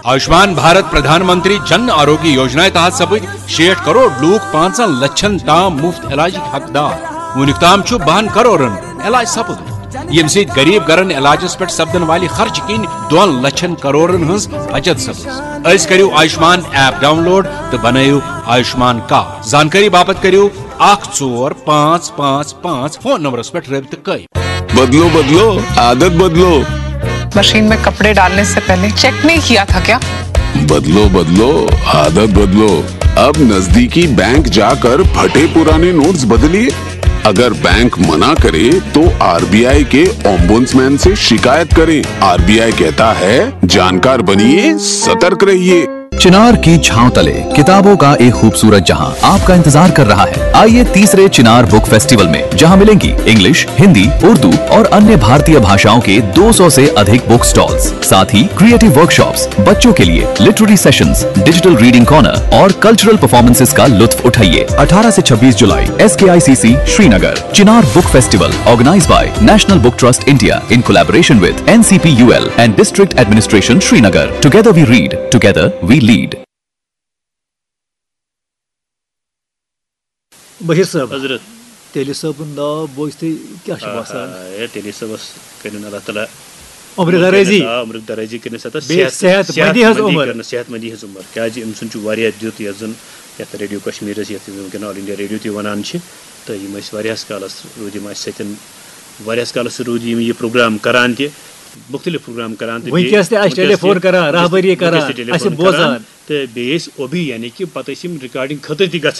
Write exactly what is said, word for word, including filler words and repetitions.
آیوشمان بھارت پردھان منتری جن آروگیہ یوجنا تحت سپٕدۍ شیٹھ کرور لوٗکھ پانٛژن لچھن تام مفت علاجٕکۍ حقدار۔ وُنیُک تام چھُ بَہَن کرورن علاج سپُدمُت، ییٚمہِ سۭتۍ غریب گرن علاجس پٮ۪ٹھ سپدن والہِ خرچہٕ کِنۍ دۄن لچھن کرورن ہٕنٛز بچت سپٕز۔ أزۍ کٔرِو آیوشمان ایپ ڈاؤن لوڈ تہٕ بنٲیِو آیوشمان کارڈ۔ زانکٲری باپتھ کٔرِو اکھ ژور پانٛژھ پانٛژھ پانٛژھ فون نمبرس پٮ۪ٹھ رٲبطہٕ قٲیِم۔ بدلو بدلو، عادت بدلو۔ मशीन में कपड़े डालने से पहले चेक नहीं किया था क्या? बदलो बदलो, आदत बदलो। अब नजदीकी बैंक जाकर फटे पुराने नोट्स बदलिए। अगर बैंक मना करे तो आरबीआई के ओम्बुड्समैन से शिकायत करें। आरबीआई कहता है, जानकार बनिए, सतर्क रहिए। चिनार की छांव तले किताबों का एक खूबसूरत जहां आपका इंतजार कर रहा है। आइए तीसरे चिनार बुक फेस्टिवल में, जहां मिलेंगी इंग्लिश, हिंदी, उर्दू और अन्य भारतीय भाषाओं के दो सौ से अधिक बुक स्टॉल्स, साथ ही क्रिएटिव वर्कशॉप्स, बच्चों के लिए literary sessions, digital reading corner और कल्चरल परफॉर्मेंसेस का लुत्फ उठाइए। अठारह से छब्बीस जुलाई, एसकेआईसीसी Srinagar. Chinar Book Festival, organized by National Book Trust India in collaboration with N C P U L and District Administration Srinagar. Together we read, together we lead. Bashir صٲب، حضرت تیٚلہِ صٲبُن ناو بوٗزتھٕے کیٛاہ چھُ باسان؟ آ، ہے، تیٚلہِ صٲبَس کٔرِن اللہ تعالیٰ عمر درٲزی۔ آ، عمر درٲزی کٔرِن ستا بیٚیہِ صحت مندی ہٕنٛز عمر۔ کٔرِن صحت مندی ہٕنٛز عمر، کیٛازِ أمۍ سُنٛد چھُ واریاہ دیُت یَتھ زَن یَتھ ریڈیو کشمیٖرَس، یَتھ وٕنکٮ۪ن آل انڈیا ریڈیو تہِ وَنان چھِ، تہٕ یِم ٲسۍ واریاہَس کالَس روٗدۍ یِم اَسہِ سۭتۍ، واریاہَس کالَس روٗدۍ یِم یہِ پروگرام کران تہِ، مُختٔلِف پروگرام کران تہِ۔ بیٚیہِ وٕنکیٚس تہِ اَسہِ وٕنکیٚس ٹیلی فون تہِ، کران، وٕنکیٚس راہبری تہِ، وٕنکیٚس کران، تہِ ٹیلی اَسہِ فون بوزان۔ کران۔ تہٕ بیٚیہِ ٲسۍ اوبی، یعنی کہِ پَتہٕ ٲسۍ یِم ریکارڈنگ خٲطرٕ تہِ گژھان۔